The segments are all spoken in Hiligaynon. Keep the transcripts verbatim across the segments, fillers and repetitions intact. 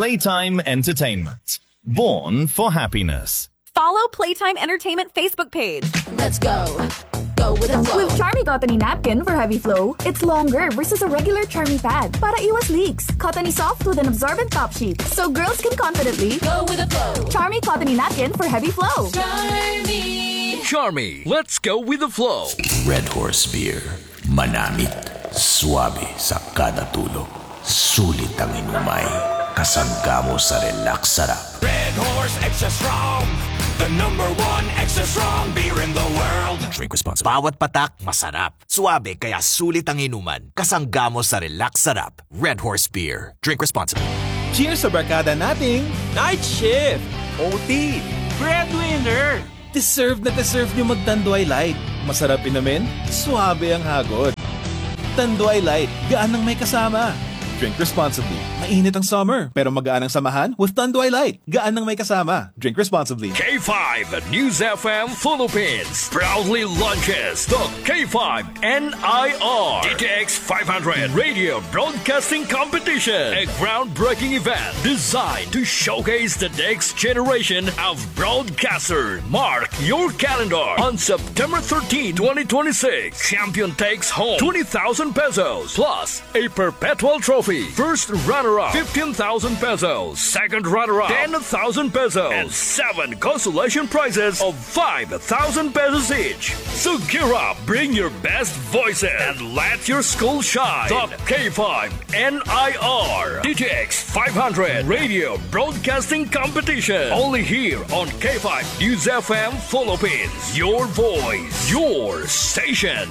Playtime Entertainment. Born for happiness. Follow Playtime Entertainment Facebook page. Let's go. Go with the flow. With Charmy Cottony Napkin for heavy flow, it's longer versus a regular Charmy pad para iwas leaks. Cottony soft with an absorbent top sheet, so girls can confidently go with the flow. Charmy Cottony Napkin for heavy flow. Charmy. Charmy, let's go with the flow. Red Horse Beer. Manamit, suabe sa kada tulo. Sulit ang inumay, kasangga mo sa relax sarap. Red Horse Extra Strong, the number one extra strong beer in the world. Drink responsibly. Bawat patak, masarap. Suabe, kaya sulit ang inuman. Kasangga mo sa relax sarap. Red Horse Beer. Drink responsibly. Cheers sa barkada nating night shift, O T, breadwinner. Deserve na deserve nyo mag-Tanduay Light. Masarap inumin, suabe ang hagod. Tanduay Light, gaan ang may kasama. Drink responsibly. Mainit ang summer, pero magaan ang samahan with Tanduay Light. Gaan ang may kasama. Drink responsibly. K five News F M Philippines proudly launches the K five N I R D T X five hundred Radio Broadcasting Competition, a groundbreaking event designed to showcase the next generation of broadcasters. Mark your calendar on September thirteen, twenty twenty-six. Champion takes home twenty thousand pesos plus a perpetual trophy. First runner-up, fifteen thousand pesos. Second runner-up, ten thousand pesos. And seven consolation prizes of five thousand pesos each. So gear up, bring your best voices, and let your school shine. The K five N I R D T X five hundred Radio Broadcasting Competition. Only here on K five News F M Philippines. Your voice, your station.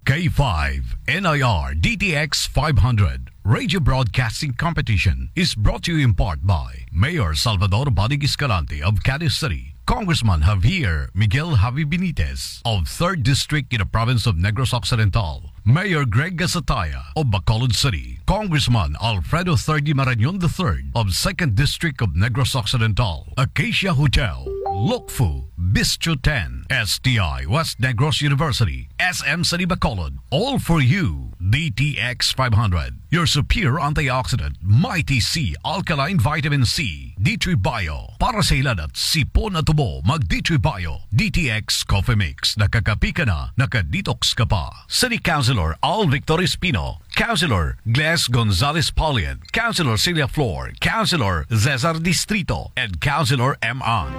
K five N I R D T X five hundred Radio Broadcasting Competition is brought to you in part by Mayor Salvador Bodig Escalante of Cadiz City, Congressman Javier Miguel Javi Benitez of third District in the province of Negros Occidental, Mayor Greg Gasataya of Bacolod City, Congressman Alfredo Thirdy Marañon the third of second District of Negros Occidental, Acacia Hotel, Lukfu, Bistro ten, S T I West Negros University, S M City Bacolod, all for you, D T X five hundred, your superior antioxidant, Mighty C alkaline vitamin C, D three Bio, para sa hilanat, sipon at ubo, mag D three Bio, D T X Coffee Mix, nakakapi ka na, naka-detox ka pa. City Councilor Al Victor Espino, Councilor Gles Gonzalez Paulian, Councilor Celia Flor, Councilor Cesar Distrito, and Councilor M. Ang.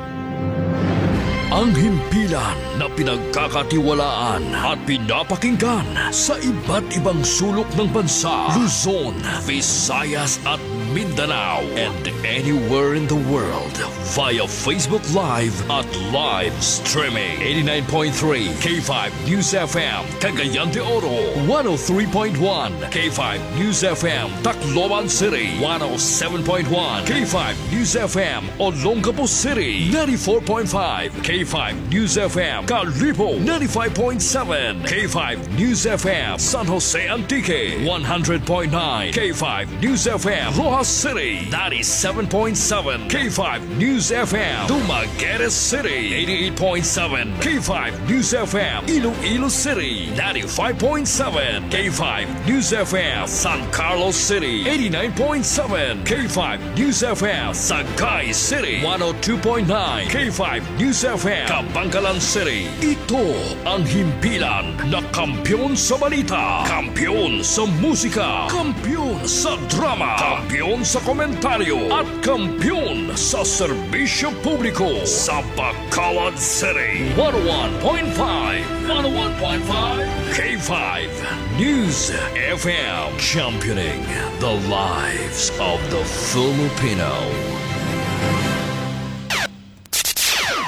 Ang himpilan na pinagkakatiwalaan at pinapakinggan sa iba't ibang sulok ng bansa, Luzon, Visayas, at Mindanao, and anywhere in the world via Facebook Live at live streaming. Eighty-nine point three K five News F M, Cagayan de Oro, one oh three point one K five News F M, Tacloban City, one oh seven point one K five News F M, Olongapo City, ninety-four point five K five News F M, Kalibo, ninety-five point seven K five News F M, San Jose Antique, one hundred point nine K five News F M, Roxas City, ninety-seven point seven K five News F M, Dumaguete City, eighty-eight point seven K five News F M, Iloilo City, ninety-five point seven K five News F M, San Carlos City, eighty-nine point seven K five News F M, Sagay City, one oh two point nine K five News F M, Kabankalan City. Ito ang himpilan na kampiyon sa balita, kampiyon sa musika, kampiyon sa drama, kampiyon sa komentaryo, at kampiyon sa serbisyo publiko sa Bacolod City. One oh one point five, one oh one point five K five News F M, championing the lives of the Filipino.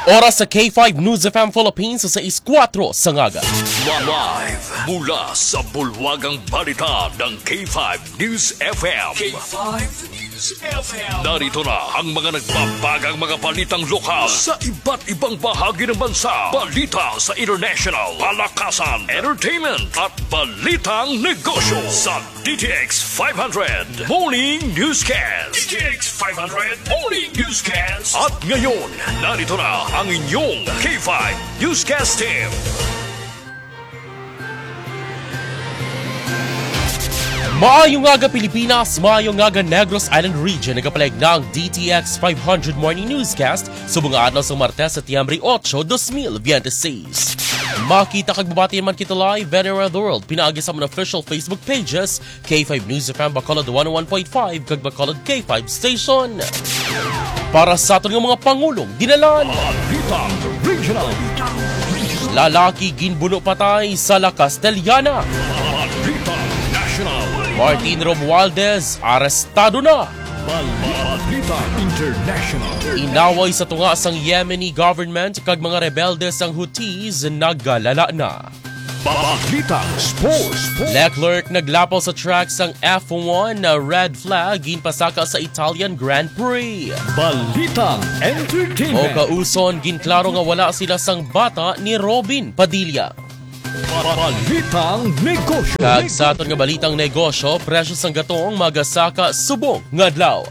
Oras sa K five News F M Philippines sa sais kuwatro sa ngaga. Live mula sa bulwagang balita ng K five News F M. K five News F M. Narito na ang mga nagbabagang mga balitang lokal sa iba't ibang bahagi ng bansa. Balita sa international, palakasan, entertainment, at balitang negosyo sa D T X five hundred Morning Newscast. D T X five hundred Morning Newscast. At ngayon, narito na ang inyong K five Newscast Team. Maayo nga aga, Pilipinas, maayo nga aga, Negros Island Region. Nagapalayag na ang D T X five hundred Morning Newscast subong nga adlaw sang Martes, Setyembre ocho, dos mil biyente seis. Makita kag mabati man kita live anywhere in the world pinaagi sa mga official Facebook pages, K five News F M Bacolod one oh one point five kag Bacolod K five Station. Para sa aton nga mga pangulong dinalan. Balitang Regional. Lalaki ginbuno patay sa La Castellana. Balitang National. Martin Romualdez arestado na. Balitang International. Inaway sa tunga sang Yemeni government kag mga rebelde sang Houthis nagalala na. Balitang Sports. Leclerc naglapaw sa track sang F one, na red flag, ginpasaka sa Italian Grand Prix. Balitang Entertainment. Mokauson, ginklaro nga wala sila sang bata ni Robin Padilla. Balitang Negosyo. Kag sa aton nga balitang negosyo, presyo sang gatong magasaka subong nga adlaw.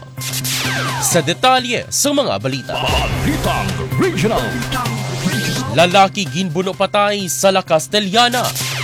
Sa detalye sa mga balita. Balitang Regional. Lalaki ginbuno patay sa La Castellana.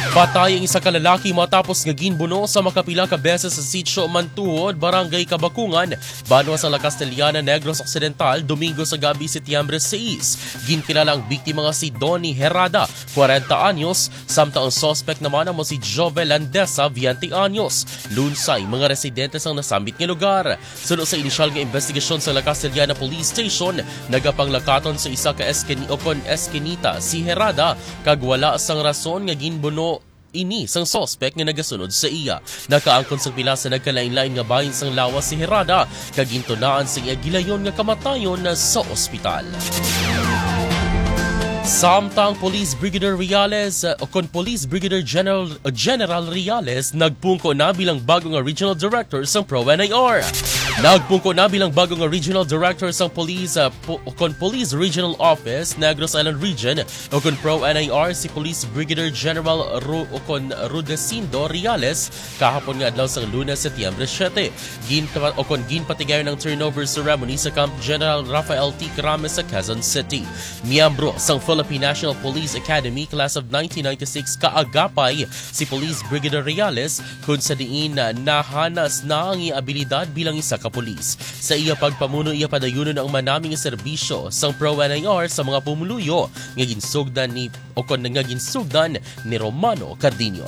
Patay ang isa ka lalaki matapos nga ginbuno sa makapila ka beses sa Sitio Mantuhod, Barangay Kabakungan, banwa sa La Castellana, Negros Occidental, Domingo sa gabi, Setyembre sais. Ginkilala ang biktima nga si Donnie Herrada, kwarenta anyos, samtang ang suspect naman amo si Jovel Landesa, veinte anyos. Lunsay, mga residente sang nasambit nga lugar. Suno sa inisyal nga investigasyon sa La Castellana Police Station, nagapanglakaton sa isa ka eskini-, o kon eskinita si Herrada, kag wala sang rason nga ginbuno ini sang suspek nga nagasunod sa iya. Nakaangkon sang pila sa nagkalainlain nga bahin sang lawas si Herrada, kag gintunaan sa iya gilayon nga kamatayon sa ospital. Samtang Police Brigadier Reales, uh, o kon Police Brigadier General, uh, General Reales nagpungko na bilang bago nga Regional Director sang Pro N I R. Nagpungko na bilang bago nga Regional Director sang Police, uh, po, o kon Police Regional Office, Negros Island Region, o kon Pro N I R, si Police Brigadier General Ru-, o kon Rudecindo Reales kahapon nga adlaw sang Lunes, Setyembre siete. Ginpa-, o kon ginpatigayon ang turnover ceremony sa Camp General Rafael T. Krames sa Quezon City. Miyembro sang Philippine National Police Academy Class of nineteen ninety-six kaagapay si Police Brigadier Reales, kun sa diin, ah, nahanas na ang iya abilidad bilang isa ka pulis. Sa iya pagpamuno, iya padayunon ang manami nga serbisyo sang Pro N I R sa mga pumuluyo nga ginsugdan ni, o kon nga ginsugdan ni Romano Cardinho.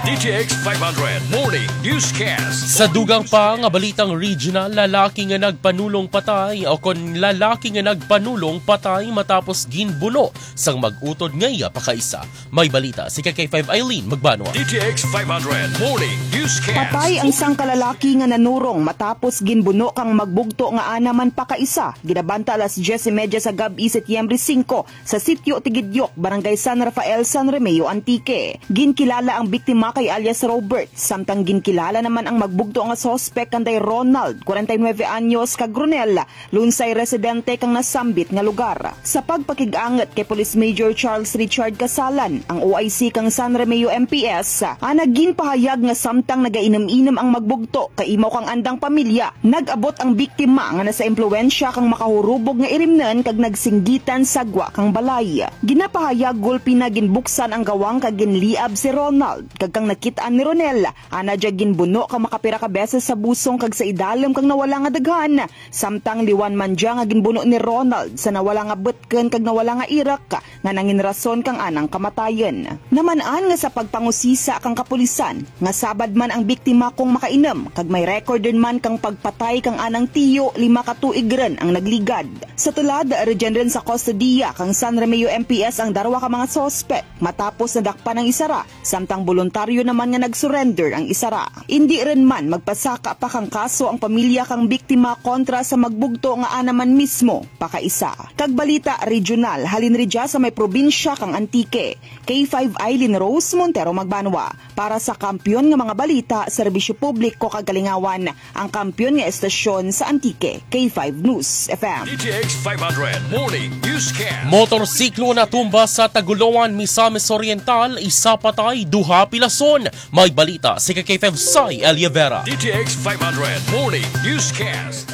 D T X five hundred Morning Newscast. Sa dugang pa nga balitang regional, lalaki nga nagpanulong patay, o kon lalaki nga nagpanulong patay matapos ginbuno sang mag-utod nga iya pakaisa. May balita si K K five Eileen Magbanwa. D T X five hundred Morning Newscast. Patay ang sangka lalaki nga nanurong matapos ginbuno kang magbugto nga ana man pakaisa, ginabanta alas dyes y media sa gab-i, Setyembre singko, sa Sitio Tigidyok, Barangay San Rafael, San Remeo, Antique. Ginkilala ang biktima kay alias Robert, samtang ginkilala naman ang magbugto nga suspek kanday Ronald, kwarenta y nuebe anyos, kag Ronel, lunsay residente kang nasambit nga lugar. Sa pagpakig-angot kay Police Major Charles Richard Casalan, ang O I C kang San Remeo M P S, ana ginpahayag nga samtang nagainom-inom ang magbugto kay imaw kang andang pamilya, nag-abot ang biktima nga nasa impluwensya kang makahurubog nga irimnon kag nagsinggitan sa gwa kang balay. Ginapahayag gulpi na ginbuksan ang gawang kag ginliab si Ronald, kag kang nakit-an ni Ronel, ana dya ginbuno kang makapira ka beses sa busong kag sa idalom kang nawala nga daghan, samtang liwan man dya nga ginbuno ni Ronald sa nawala nga butken kag nawala nga irak nga nangin rason kang anang kamatayon. Naman-an nga sa pagpangusisa kang kapulisan, nga sabad man ang biktima kung makainom, kag may record rin man kang pagpatay kang anang tiyo, lima ka tuig rin ang nagligad. Sa tulad, rugyan rin sa kustodiya kang San Remeo M P S ang darwa ka mga suspek, matapos nadakpan ang isara, samtang boluntaryo naman nga nag-surrender ang isara. Indi rin man magpasaka pa kang kaso ang pamilya kang biktima kontra sa magbugto nga ana man mismo pakaisa. Kag balita regional, halin ridya sa may probinsya kang Antique, K five Eileen Rose Montero Magbanwa. Para sa Kampiyon nga mga Balita, Serbisyo Publiko kag Kalingawan, ang kampiyon nga estasyon sa Antique, K five News F M. D T X five hundred Morning Newscast. Motorsiklo natumba sa Tagoloan, Misamis Oriental, isa patay, duha pilason. May balita si K five Sai Eliavera. D T X five hundred Morning Newscast.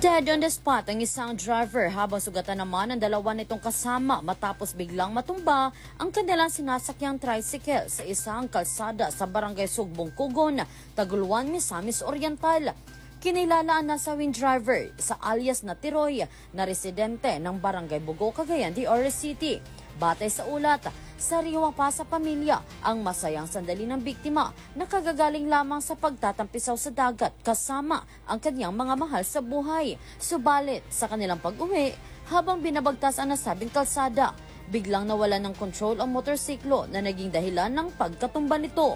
Dead on the spot ang isang driver habang sugatan naman ang dalawa nitong kasama matapos biglang matumba ang kanilang sinasakyang tricycle sa isang kalsada sa Barangay Sugbong Kugon, Tagoloan, Misamis Oriental. Kinilala ang nasabing driver sa alias na Tiroy na residente ng Barangay Bugo, Cagayan de Oro City. Batay sa ulat, sariwa pa sa pamilya ang masayang sandali ng biktima na kagagaling lamang sa pagtatampisaw sa dagat kasama ang kanyang mga mahal sa buhay. Subalit, sa kanilang pag-uwi, habang binabagtas ang nasabing kalsada, biglang nawalan ng kontrol ang motorsiklo na naging dahilan ng pagkatumba nito.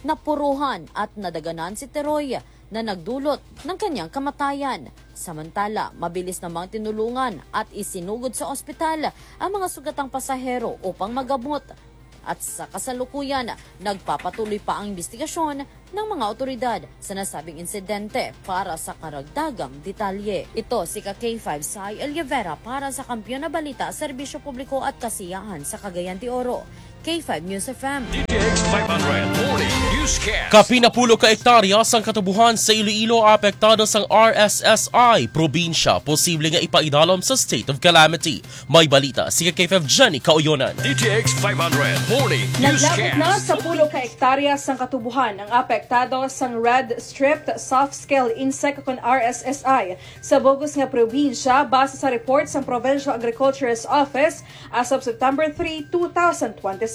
Napuruhan at nadaganan si Teroy na nagdulot ng kanyang kamatayan. Samantala, mabilis namang tinulungan at isinugod sa ospital ang mga sugatang pasahero upang magamot. At sa kasalukuyan, nagpapatuloy pa ang investigasyon ng mga awtoridad sa nasabing insidente para sa karagdagang detalye. Ito si ka K five Sai Oliveira para sa Kampiyon na Balita, Serbisyo Publiko at Kasiyahan sa Cagayan de Oro, K five News F M. D T X five hundred Morning Newscast. Kapin napulo ka ektarya sang katubuhan sa Iloilo apektado sang R S S I probinsya, posible nga ipaidalom sa state of calamity. May balita si ka K five Jenny Kauyonan. D T X five hundred Morning Naglabot na Newscast. Sa pulo ka ektarya sang katubuhan ang apektado sang red-striped soft-scale insect, kon R S S I, sa bug-os nga probinsya, base sa report sang Provincial Agriculturist Office as of September three, two thousand twenty-six.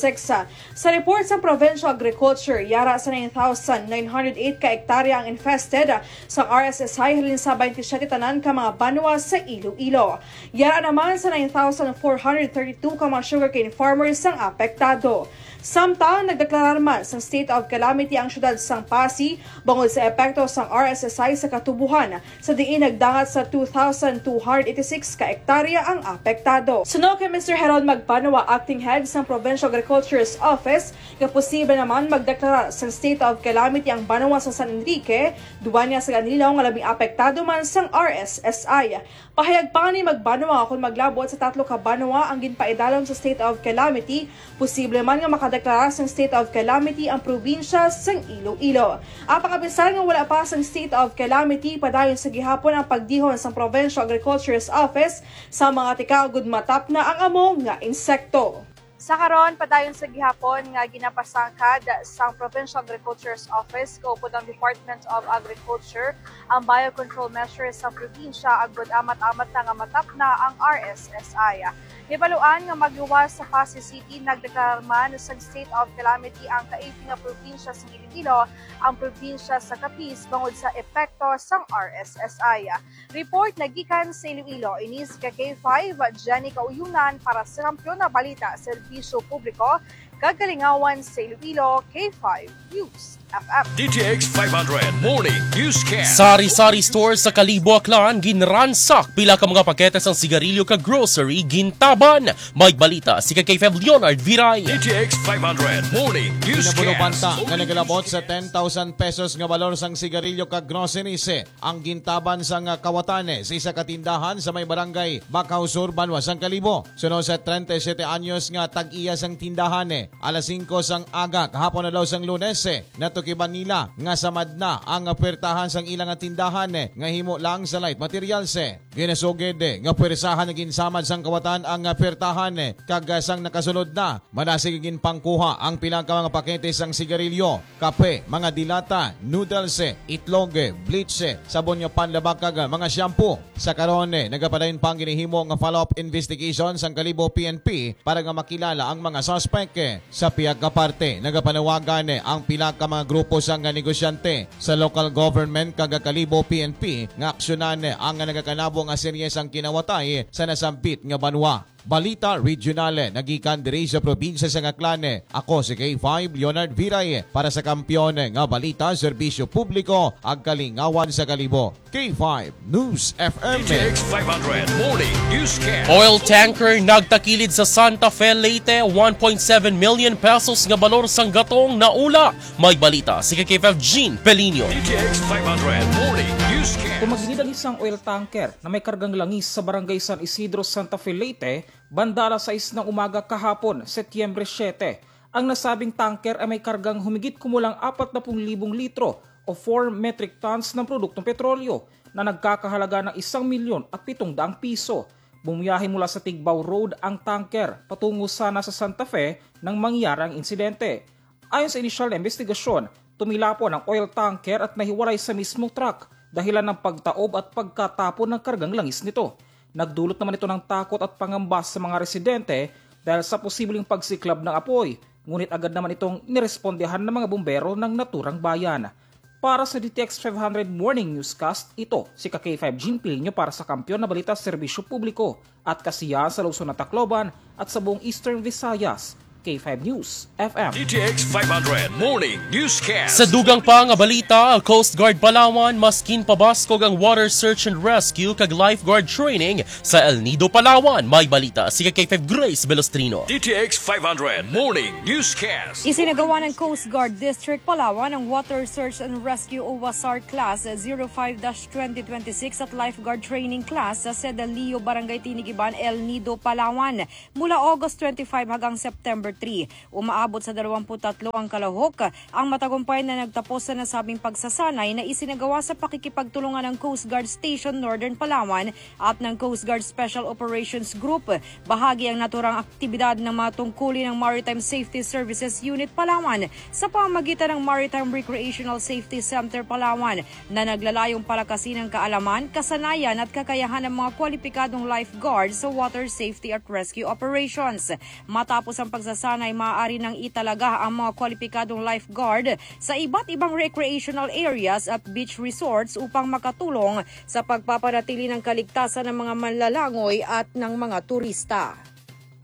Sa report sang Provincial Agriculture, yara sa nine thousand nine hundred eight ka ektarya ang infested sang R S S I halin sa twenty-seven tanan ka mga banwa sa Iloilo. Yara naman sa nine thousand four hundred thirty-two ka mga sugarcane farmers ang apektado. Samtang nagdeklarar man sang state of calamity ang siyudad sang Passi bangod sa epekto sang R S S I sa katubuhan, sa diin nagdangat sa two thousand two hundred eighty-six ka ektarya ang apektado. Suno kay Mister Heron Magbanwa, acting head sang Provincial Agriculture's Office, nga posible naman magdeklarar sang state of calamity ang banwa sa San Enrique, duwa niya sa Ganilaw nga labing apektado man sang R S S I. Pahayag pa ni Magbanwa, kon maglabot sa tatlo ka banwa ang ginpaidalom sa state of calamity, posible man nga makadeklara sang state of calamity ang probinsya sang Iloilo. Apang apisar nga wala pa sang state of calamity, padayon sa gihapon ang pagdihon sang Provincial Agriculture's Office sa mga tikaugod matapna ang amo nga insekto. Sa karon, padayon sa gihapon nga ginapasangkad sang Provincial Agriculture's Office kaupod ang Department of Agriculture ang biocontrol measures sa probinsya, agod amat-amat na nga matapna ang R S S I. Hibaluan nga magluwas sa Passi City, nagdeklarar man sang state of calamity ang kaiti nga probinsya sa Iloilo, ang probinsya sa Capiz, bangod sa epekto sang R S S I. Report nagikan sa Iloilo, ini si ka K five, Jenny Kauyunan para sa Kampiyon na Balita, Serbisyo Publiko, kag Kalingawan sa Iloilo, K five News F M. D T X five hundred Morning Newscast. Sari-sari store sa Kalibo, Aklan, ginransak, pila ka mga pakete sang sigarilyo kag grocery gintaban. May balita si ka K five Leonard Viray. D T X five hundred Morning Newscast. Pinabulubanta nga nagalabot sa ten thousand pesos nga balor sang sigarilyo kag groceries ang gintaban sang kawatan sa isa ka tindahan sa may barangay Bacau Sur, banwa sang Kalibo. Suno sa treinta y siete anyos nga tag-iya sang tindahan, alas singko sang aga kahapon, adlaw sang Lunes, natukiban nila nga samad na ang puwertahan sang ila nga tindahan nga himo lang sa light materials. Ginasugid nga puwersahan nga ginsamad sang kawatan ang puwertahan, kag sang nakasunod na, madasig ginpangkuha ang pila ka mga pakete sang sigarilyo, kape, mga dilata, noodles, itlog, bleach, sabon nga panlaba kag mga shampoo. Sa karon, nagapadayon pa ang ginahimo nga follow-up investigation sang Kalibo P N P para nga makilala ang mga suspek. Sa pihak ka parte, nagapanawagan ang pila ka mga grupo sang negosyante sa local government kag Kalibo P N P nga aksyonan ang nagakanabo nga serye sang kinawatay sa nasambit nga banwa. Balita Regional, nagikan diri sa probinsya sang Aklan. Ako si K five Leonard Viray para sa Kampiyon nga Balita, Serbisyo Publiko, ag Kalingawan sa Kalibo, K five News F M. D T X five hundred Morning Newscast. Oil tanker nagtakilid sa Santa Fe, Leyte, one point seven million pesos nga balor sang gatong naula. May balita si ka K five Jean Pelinio. D T X five hundred Morning Newscast. Tumagilid ang isang oil tanker na may kargang langis sa Barangay San Isidro, Santa Fe, Leyte, banda alas sais ng umaga kahapon, Setyembre siyete. Ang nasabing tanker ay may kargang humigit kumulang apat na pung libong litro o four metric tons ng produktong petrolyo na nagkakahalaga ng isang milyon at pitong daang piso. Bumiyahe mula sa Tigbao Road ang tanker patungo sana sa Santa Fe nang mangyari ang insidente. Ayon sa inisyal na investigasyon, tumilapon ang oil tanker at nahiwalay sa mismong truck dahilan ng pagtaob at pagkatapon ng kargang langis nito. Nagdulot naman ito ng takot at pangamba sa mga residente dahil sa posibleng pagsiklab ng apoy, ngunit agad naman itong nirespondehan ng mga bumbero ng naturang bayan. Para sa D T X five hundred Morning Newscast, ito si ka K five Jean Pilino para sa Kampiyon na Balita, Serbisyo Publiko at Kasiyahan sa Luzon at Tacloban at sa buong Eastern Visayas. K five News F M. D T X five hundred Morning Newscast. Sa dugang pa nga balita, Coast Guard Palawan, maskin pabaskog ang water search and rescue kag lifeguard training sa El Nido, Palawan. May balita si ka K five Grace Velostrino. D T X five hundred Morning Newscast. Isinagawa ng Coast Guard District Palawan ang Water Search and Rescue o WASAR Class zero five dash twenty twenty-six at Lifeguard Training Class sa Sedalio, Barangay Tinigiban, El Nido, Palawan, mula August twenty-five hanggang September three. Umaabot sa dalawampu't tatlo ang kalahok. Ang matagumpay na nagtapos sa nasabing pagsasanay na isinagawa sa pakikipagtulungan ng Coast Guard Station Northern Palawan at ng Coast Guard Special Operations Group. Bahagi ang naturang aktibidad ng mga tungkulin ng Maritime Safety Services Unit Palawan sa pamamagitan ng Maritime Recreational Safety Center Palawan na naglalayong palakasin ang kaalaman, kasanayan at kakayahan ng mga kwalipikadong lifeguard sa water safety at rescue operations. Matapos ang pagsasanay, maaari nang italaga ang mga kwalipikadong lifeguard sa iba't ibang recreational areas at beach resorts upang makatulong sa pagpapanatili ng kaligtasan ng mga manlalangoy at ng mga turista.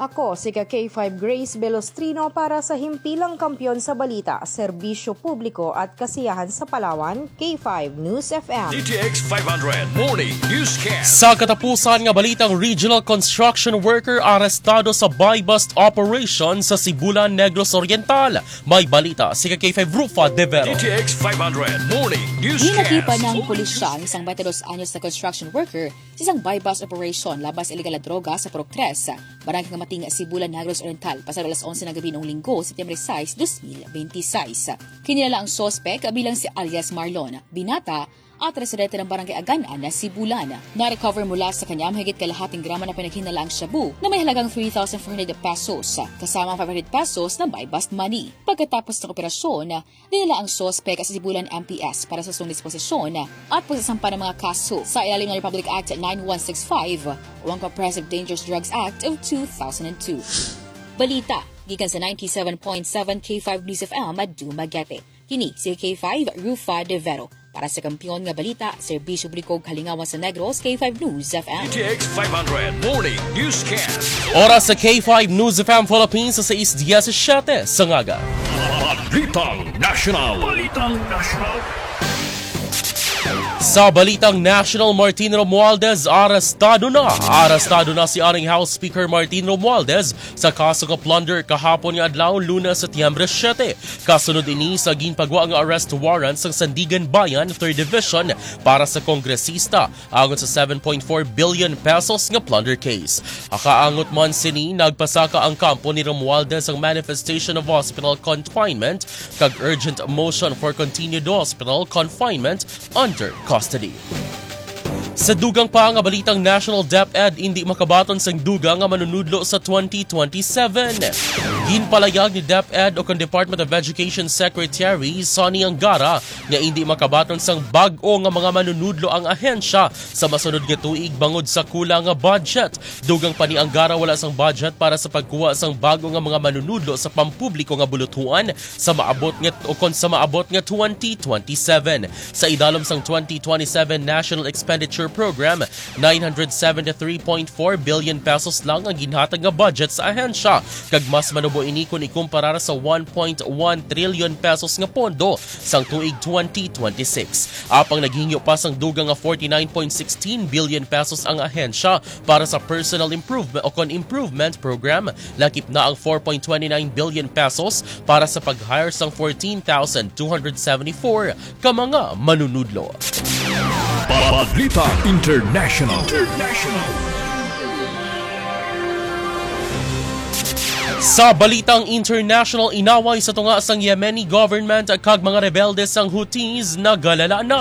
Ako si ka K five Grace Belostrino para sa Himpilang Kampiyon sa Balita, Serbisyo Publiko at Kasiyahan sa Palawan, K five News F M. D T X five hundred Morning Newscast. Sa katapusan nga balitang, regional construction worker arestado sa buy-bust operation sa Sibulan, Negros Oriental. May balita si ka K five Rufa De Vero. D T X five hundred Morning Newscast. Ginakipan ng pulisya ang isang twenty-two anyos na construction worker sa isang buy-bust operation laban sa illegal na droga sa Purok Tres, barangay Kamating, Sibulan, Negros Oriental, pasado alas onse ng gabi noong Linggo, September sais, dos mil benti sais. Kinilala ang suspek bilang si alias Marlon Binata at residente ng barangay Aganan na Sibulan. Na-recover mula sa kanya ang mahigit kalahating gramo ng pinaghinalaang shabu na may halagang three thousand four hundred pesos, kasama ang five hundred pesos na buy-bust money. Pagkatapos ng operasyon, dinala ang suspek sa Sibulan M P S para sa usang disposisyon at pagsasampa ng mga kaso sa ilalim ng Republic Act nine one six five o ang Comprehensive Dangerous Drugs Act of two thousand and two. Balita gikan sa ninety-seven point seven K five News F M, Dumaguete. Kini si K five, Rufa De Vero. Para sa Kampiyon nga Balita, Serbisyo Publiko, Kalingawan sa Negros, K five News F M. D T X five hundred Morning Newscast. Oras sa K five News F M Philippines sa sais diecisiete sa ngaga. Balitang National. Balitang National. Sa balitang national, Martin Romualdez arestado na. Arestado na si aning House Speaker Martin Romualdez sa kaso nga plunder kahapon nga adlaw, Lunes, Setyembre siete. Kasunod ini sa ginpagwa nga arrest warrant sang Sandiganbayan Third Division para sa kongresista angot sa seven point four billion pesos nga plunder case. Akaangot man sini, nagpasaka ang kampo ni Romualdez sang manifestation of hospital confinement kag urgent motion for continued hospital confinement under custody. Sa dugang pa nga balitang national, DepEd indi makabaton sang dugang nga manunudlo sa twenty twenty-seven. Ginpalayag ni DepEd o kon Department of Education Secretary Sonny Angara nga indi makabaton sang bag-o nga mga manunudlo ang ahensya sa masunod nga tuig bangod sa kulang nga budget. Dugang pa ni Angara, wala sang budget para sa pagkuha sang bag-o nga mga manunudlo sa pampubliko nga bulutuan sa maabot nga, o kon sa maabot nga twenty twenty-seven. Sa idalom sang twenty twenty-seven National Expenditure Program, nine hundred seventy-three point four billion pesos lang ang ginhatag nga budget sa ahensya, kag mas manubo ini kon ikumparar sa one point one trillion pesos nga pondo sang tuig twenty twenty-six. Apang naghingyo pa sang dugang nga forty-nine point sixteen billion pesos ang ahensya para sa personal improvement o kon improvement program, lakip na ang four point twenty-nine billion pesos para sa pag-hire sang fourteen thousand two hundred seventy-four ka mga manunudlo. Balita International. International. Sa balitang international, inaway sa tunga sang Yemeni government kag mga rebelde sang Houthis nagalala na.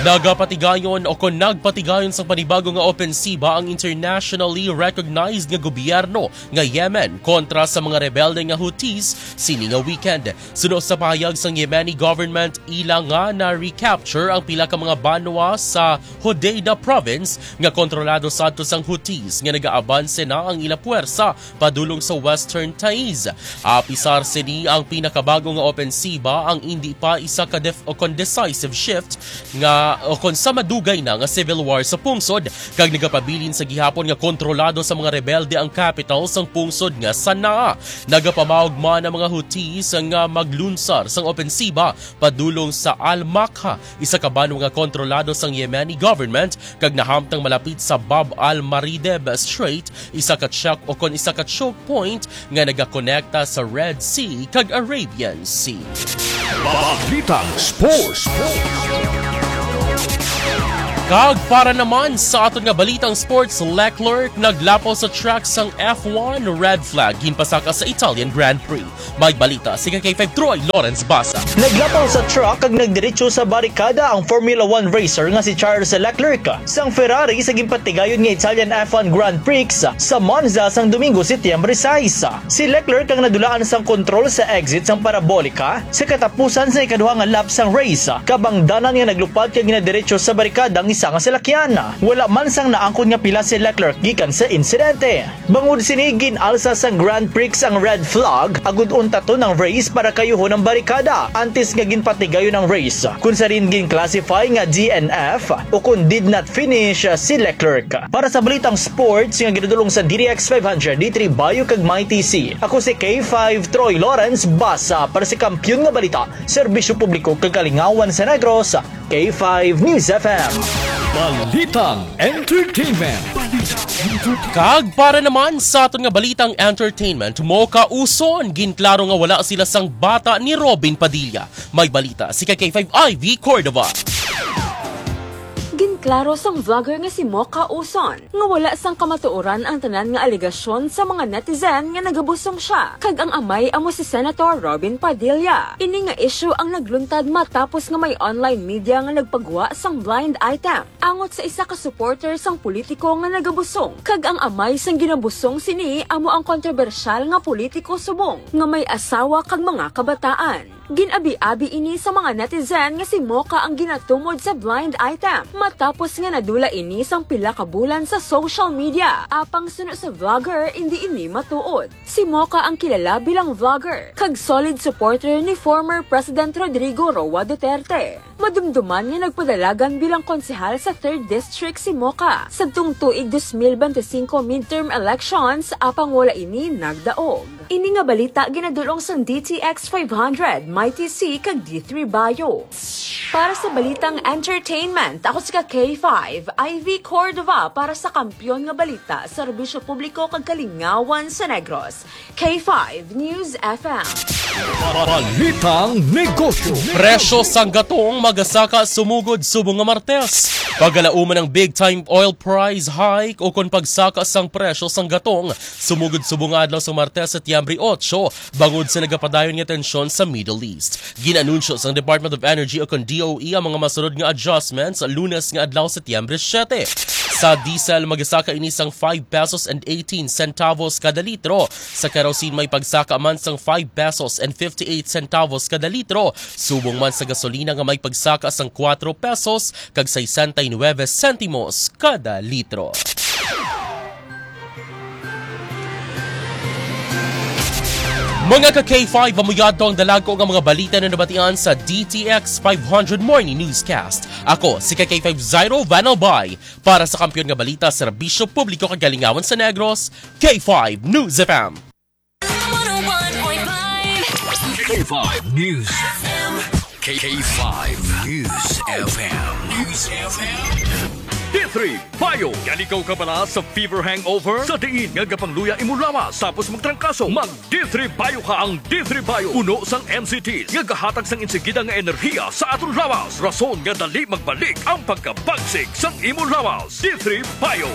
Nagapatigayon o kon nagpatigayon sang panibago nga opensiba ang internationally recognized nga gobyerno nga Yemen kontra sa mga rebelde nga Houthis sini nga weekend. Suno sa pahayag sang Yemeni government, ila nga na-recapture ang pila ka mga banwa sa Hodeidah province nga kontrolado sadto sang Houthis nga nagaabanse na ang ila puwersa padulong sa Western Taiz. Apisar sini, ang pinakabago nga opensiba ang indi pa isa ka def-, o kon decisive shift nga o kon sa madugay na nga civil war sa pungsod, kag nagapabilin sa gihapon nga kontrolado sa mga rebelde ang capital sang pungsod nga Sana'a. Nagapamaog man ang mga Houthis nga maglunsar sang opensiba padulong sa Al-Makha, isa ka banwa nga kontrolado sang Yemeni government, kag nahamtang malapit sa Bab al-Marideb Strait, isa ka check o kon isa ka choke point nga nagakonekta sa Red Sea kag Arabian Sea. Balitang Sports. Kag para naman sa aton nga balitang sports, Leclerc naglapaw sa track sang F one, red flag, ginpasaka sa Italian Grand Prix. May balita si K five Troy Lawrence Basa. Naglapaw sa track kag nagdiretso sa barikada ang Formula One racer nga si Charles Leclerc sang Ferrari sa ginpatigayon nga Italian F one Grand Prix sa Monza sang Domingo, Setyembre sais. Si Leclerc ang nadulaan sang kontrol sa exit sang parabolika sa katapusan sa ikaduha nga lap sang race, kabangdanan nga naglupad kag ginadiretso sa barikada ang isa nga salakyan. Wala man sang naangkon nga pila si Leclerc gikan sa insidente. Bangod sini, gin-alsa sang Grand Prix ang red flag agud untaton ang race para kayuhon ang barikada antes nga ginpatigayon ang race, kun sa rin gin-classify nga D N F o kun did not finish si Leclerc. Para sa balitang sports nga ginadulong sa D D X five hundred, D three Bayo kag Mighty C, ako si K five Troy Lawrence Basa para sa Kampiyon nga Balita, Serbisyo Publiko kag Kalingawan sa Negros, K five News F M. Balitang Entertainment. Kag para naman sa aton nga balitang entertainment, mokauson, ginklaro nga wala sila sang bata ni Robin Padilla. May balita si K five Ivy Cordova. Ginklaro sang vlogger nga si Mocha Uson nga wala sang kamatuoran ang tanan nga alegasyon sa mga netizen nga nagabusong siya kag ang amay amo si Senator Robin Padilla. Ini nga issue ang nagluntad matapos nga may online media nga nagpagwa sang blind item angot sa isa ka supporter sang politiko nga nagabusong, kag ang amay sang ginabusong sini amo ang kontrobersyal nga politiko subong nga may asawa kag mga kabataan. Gin-abi-abi ini sa mga netizen nga si Mocha ang ginatumod sa blind item, matapos nga nadula ini sang pila ka bulan sa social media. Apang suno sa vlogger, indi ini matuod. Si Mocha ang kilala bilang vlogger kag solid supporter ni former President Rodrigo Roa Duterte. Madumduman nga nagpadalagan bilang konsehal sa Third District si Mocha sadtong tuig dos mil bente singko midterm elections, apang wala ini nagdaog. Ini nga balita ginadulong sang D T X five hundred, Mighty C, kag D three Bayo. Para sa balitang entertainment, ako si ka K five, Ivy Cordova, para sa Kampiyon nga Balita, Serbisyo Publiko kag Kalingawan sa Negros, K five News F M. Balitang Negosyo. Presyo sang gatong magasaka sumugod subong nga Martes. Pagalauman ang big time oil price hike o kon pagsaka sang presyo sang gatong sumugod subong nga adlaw sa Martes, Setyembre otso, bangod sa nagapadayon nga tensyon sa Middle East. Gin-anunsyo sang Department of Energy o kon D O E ang mga masunod nga adjustments Lunes nga adlaw, Setyembre siyete. Sa diesel, magasaka ini sang five pesos and eighteen centavos kada litro. Sa kerosene, may pagsaka man sang five pesos and fifty-eight centavos kada litro. Subong man sa gasolina nga may pagsaka sang kuwatro pesos kag sesenta y nueve sentimos kada litro. Mga ka K five, amo yadto ang dalagko nga mga balita na nabatian sa D T X five hundred Morning Newscast. Ako si ka K five Zairo Van Albay para sa Kampiyon nga Balita, Serbisyo Publiko kag Kalingawan sa Negros, K five News F M. One oh one point five. K five News. K five News F M. News F M. D three Bio. Gali kaw kabala sa fever hangover? Sa diin nga gapangluya imo lawas tapos magtrangkaso, mag D three Bio ka. Ang D three Bio puno sang M C T nga gahatag sang insigida nga enerhiya sa aton lawas, rason nga dali magbalik ang pagkabagsik sang imo lawas. D three Bio.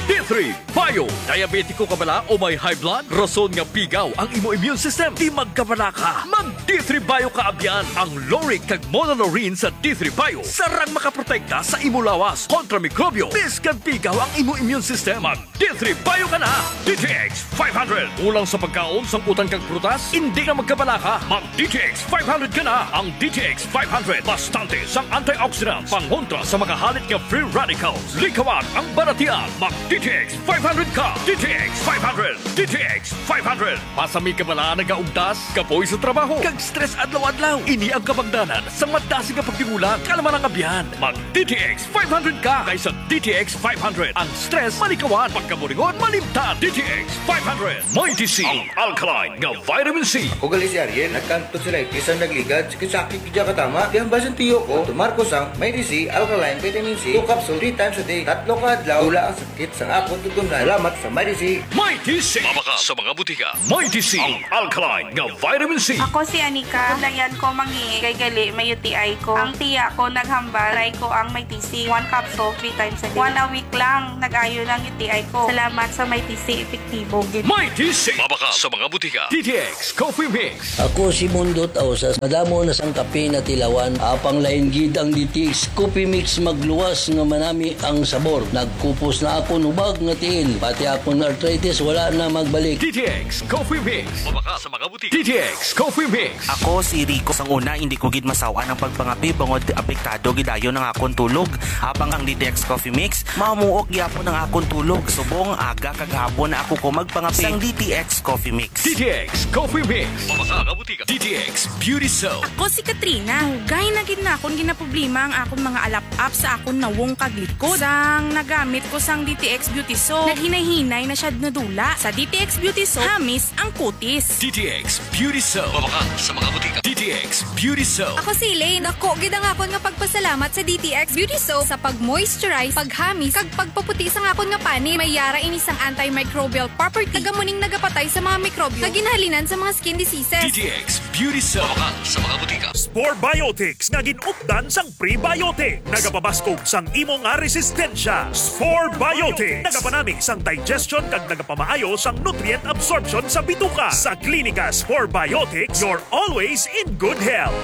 D three Bio. Diabetiko ka bala o may high blood? Rason nga pigaw ang imo immune system. Di magkabala ka. Mag D three Bio ka abyan. Ang lauric kag monolaurin sa D three Bio sarang makaprotekta sa imo lawas kontra mikrobyo. Bisan pigaw ang imo immune system, mag D three Bio ka na. D T X five hundred. Kulang sa pagkaon, sang utan kag prutas? Hindi ka magkabala ka. Mag D T X five hundred ka na. Ang D T X five hundred, bastante sang antioxidants, pangontra sa mga halit nga free radicals. Likawan ang balatian. Mag D T X five hundred ka. D T X five hundred. D T X five hundred. Basi may kabala, nagaugtas, kapoy sa trabaho, kag stress adlaw-adlaw. Ini ang kabangdanan sa madasig nga pagtingulang, kalma ang abyan. Mag D T X five hundred ka kaysa D T X five hundred. Ang stress malikawan, pagkaburingon malimtan. D T X five hundred. Mighty C, ang alkaline nga vitamin C. Ako gali si Ariel, nagkanto sila itis ang nagligad, sakit-sakit gid katama. Kaya ang basin tiyo ko, tumar ko sang Mighty C, alkaline vitamin C, two capsule, three times a day. Tatlo ka adlaw, wala ang sakit sang akon tutunlan. Salamat sa Mighty C. Mighty C. Mabakal sa mga butika. Mighty C, ang alkaline nga vitamin C. Ako si Anika. Ako dayan ko mangi kay gali may U T I ko. Ang tiya ko naghambal, try ko ang Mighty C. One capsule, three times a day. One a week lang, nag-ayo lang U T I ko. Salamat sa Mighty C, epektibo gid. Mighty C. Mabakal sa mga butika. D T X Coffee Mix. Ako si Mundo Tausas. Madamo na sang kape natilawan. Apang lain gid ang D T X Coffee Mix, magluwas nga manami ang sabor. Nagkupos na akon hubag nga tiil. Pati akon arthritis wala na magbalik. D T X Coffee Mix. Mabakal sa mga butika. D T X Coffee Mix. Ako si Rico. Sang una, hindi ko gid masaw-an ang pagpangape bangod apektado gid dayon ang akon tulog. Apang ang D T X Coffee Mix, mamuok gyapon ang akon tulog. Subong aga kag hapon na ako ko magpangape. Sang D T X Coffee Mix. D T X Coffee Mix. Mabakal sa mga butika. D T X Beauty Soap. Ako si Katrina. Dugay na gid na akon ginaproblema ang akon mga alap-ap sa akon nawong kag likod. Sang nagamit ko sang D T X Beauty Soap, naghinay-hinay na siya nadula. Sa D T X Beauty Soap, hamis ang kutis. D T X Beauty Soap. Mabakal sa mga butika. D T X Beauty Soap. Ako si Elaine. Dako gid ang akon nga pagpasalamat sa D T X Beauty Soap sa pag-moisturize, paghamis, kag pagpaputi sang akon nga panit. May yara ini sang antimicrobial property. Taga mo ning nagapatay sa mga mikrobyo nga ginhalinan sa mga skin diseases. D T X Beauty Soap. Mabakal sa mga butika. Spore Biotics nga gin-updan sang prebiotic. Nagapabaskog sang imo nga resistensya. Spore Biotics. Nagapanami sang digestion kag nagapamaayo sang nutrient absorption sa bituka. Sa Klinika Spore Biotics, you're always in good health.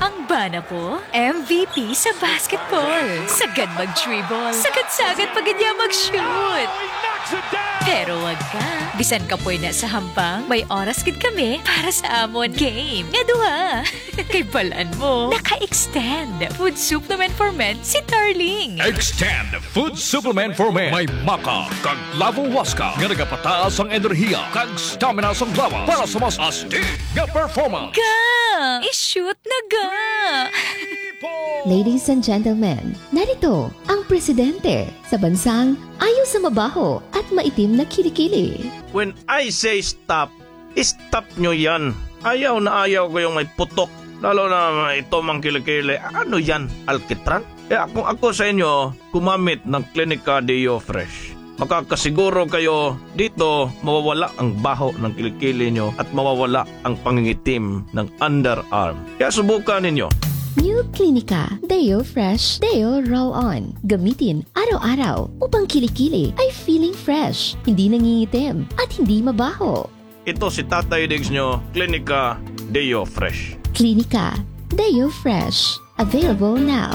Ang bana ko, M V P sa basketball. Sagad mag-dribble. Sagad-sagad pa gid niya mag-shoot. Pero wag ka. Bisan kapoy na sa hampang, may oras gid kami para sa amon game nga duha. Kay balan mo, naka-extend food supplement for men si Darling. Extend food supplement for men. May maca kag lavo huasca nga nagapataas ang enerhiya kag stamina sang lawas para sa mas astig nga performance. Ga! I-shoot na ga! Ladies and gentlemen, narito ang presidente sa bansang ayo sa mabaho at maitim na kilikili. When I say stop, stop nyo yan. Ayaw na ayaw ko yung may putok. Lalo na ito mang kilikili. Ano yan, alkitran? Kaya kung ako sa inyo, gumamit ng Clinica Deo Fresh. Makakasiguro kayo dito mawawala ang baho ng kilikili nyo at mawawala ang pangingitim ng underarm. Kaya subukan ninyo. New Clinica Deo Fresh Deo Roll On. Gamitin araw-araw upang kilikili ay feeling fresh, hindi nangingitim, at hindi mabaho. Ito si Tatay Diggs nyo, Clinica Deo Fresh. Clinica Deo Fresh. Available now.